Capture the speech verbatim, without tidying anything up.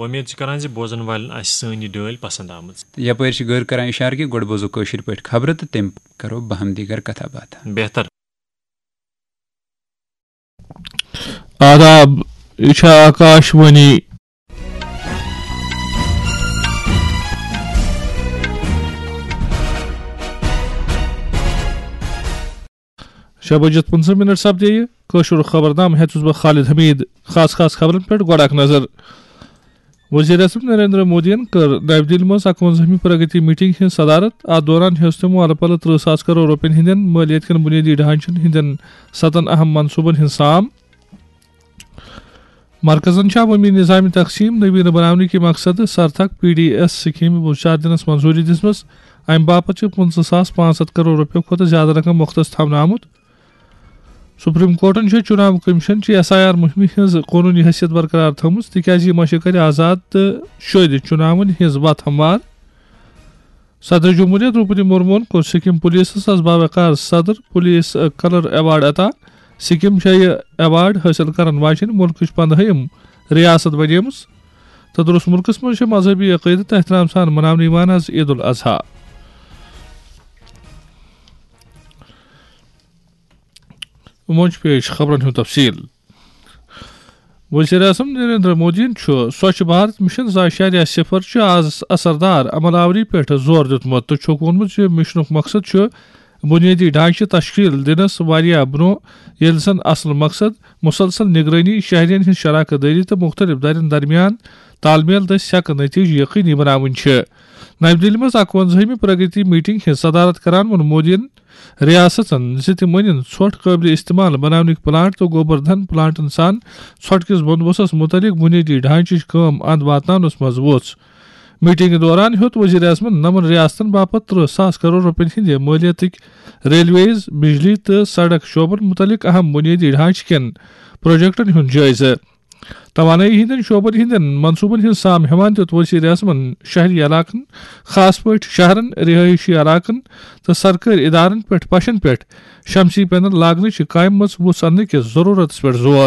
وۄمید چھِ کران زِ بوزن والٮ۪ن آسہِ سٲنۍ یہِ ڈٲلۍ پسند آمٕژ۔ یپٲرۍ چھِ غٲر کران اِشارٕ کہِ گۄڈٕ بوزو کٲشِر پٲٹھۍ خبرٕ تہٕ تَمہِ پتہٕ کرو باہم دیٖگر کتھا باتھا۔ بہتر۔ آداب، یہِ چھےٚ آکاش وانی۔ شےٚ بجِتھ پٕنٛژٕہ منٹ سپدے یہِ کٲشُر خبرنامہٕ۔ ہیوٚت چھُس بہٕ خالد حمید۔ خاص خاص خبرن پٮ۪ٹھ گۄڈٕ اکھ نظر۔ وزیر اعظم نریندر مودیَن کٔر نَوِ دِلہِ منٛز اَکوَنزاہمہِ پرگتی میٹنگ ہٕنٛز صدارت۔ اَتھ دوران ہیوٚژ تٔمۍ اَلہٕ پَلہٕ ترٕہ ساس کرور رۄپیَن ہٕنٛدٮ۪ن مٲلیت کٮ۪ن بُنیٲدی ڈھانچن ہٕنٛدٮ۪ن ستن اہم منصوبن ہٕنٛز سام۔ مرکزن چھےٚ عوٲمی نظام تقسیٖم نویٖنہٕ بناونہٕ کہِ مقصدٕ سرتھک پی ڈی ایس سکیمہِ وُژار دِنس منظوٗری دِژمٕژ۔ اَمہِ باپتھ چھِ پٕنٛژٕہ ساس پانٛژھ ہتھ کرور رۄپیو کھۄتہٕ زیادٕ رقم مختص تھاونہٕ آمُت۔ سپریم کورٹن چھےٚ چناو کمیشن چہِ ایس آئی آر مُہمہِ ہٕنٛز قونوٗنی حیثیت برقرار تھٲومٕژ، تِکیازِ یہِ مشق کرِ آزاد تہٕ شٲدِ چناون ہٕنٛز وتھ ہموار۔ صدر جمہوریہ درٛوپدی مرموہن کوٚر سکم پولیسس از باوقار صدر پولیس کلر ایوارڈ عطا۔ سکم چھےٚ یہِ ایوارڈ حٲصِل کرن واجیٚنۍ مُلکٕچ پندہٲیِم ریاست بنیمٕژ تہٕ درست مُلکس منٛز چھےٚ مذہبی عقیدت تہٕ احترام سان مناونہٕ یِوان از عید الاضحیٰ۔ وۄنۍ چھُ پیش خبرن ہُنٛد تفصیل۔ وزیر اعظم نریندر مودیَن چھُ سوچھ بھارت مشن زٕ اعشاریہ صفر چہِ از اثردار عمل آوری پٮ۪ٹھ زور دیُتمُت تہٕ چھُکھ ووٚنمُت زِ مشنُک مقصد چھُ بنیٲدی ڈھانچہٕ تشکیل دِنس واریاہ برونٛہہ، ییٚلہِ زن اصل مقصد مسلسل نگرٲنی، شہرین ہٕنٛز شراکت دٲری تہٕ مختلف دَرٮ۪ن درمیان تال میل دٔسۍ سیکہٕ نتیجہٕ یقینی بناوٕنۍ چھِ۔ نَوِ دِلہِ منٛز اَکوَنزاہمہِ پرگتی میٹنگ ہٕنٛز صدارت کران ووٚن مودیَن ریاستن زِ تِم أنِن ژھۄٹھ قٲبلِ استعمال بناونٕکۍ پلانٹ تہٕ گوبر دھن پلانٹن سان ژھۄٹھ کِس بندوبستس متعلق بنیٲدی ڈھانچٕچ کٲم اند واتناونس منٛز ووٚژھ۔ میٹنگہِ دوران ہیوٚت وزیر اعظمن نَمَن ریاستن باپتھ ترٕہ ساس کرور رۄپین ہٕنٛدِ مٲلیتٕکۍ ریلویز، بجلی تہٕ سڑک شعبن متعلق اہم بنیٲدی ڈھانچہٕ کٮ۪ن پروجیکٹن ہُنٛد جٲیزٕ۔ توانٲیی ہٕنٛدٮ۪ن شعبن ہٕنٛدٮ۪ن منصوبن ہُنٛد سام ہٮ۪وان دیُت وزیر اعظمن شہری علاقن، خاص پٲٹھۍ شہرن، رہٲیشی علاقن تہٕ سرکٲرۍ ادارن پٮ۪ٹھ پشن پٮ۪ٹھ شمسی پینل لاگنٕچ قائم مژ وُژھ اننہٕ کِس ضرورتس پٮ۪ٹھ زور۔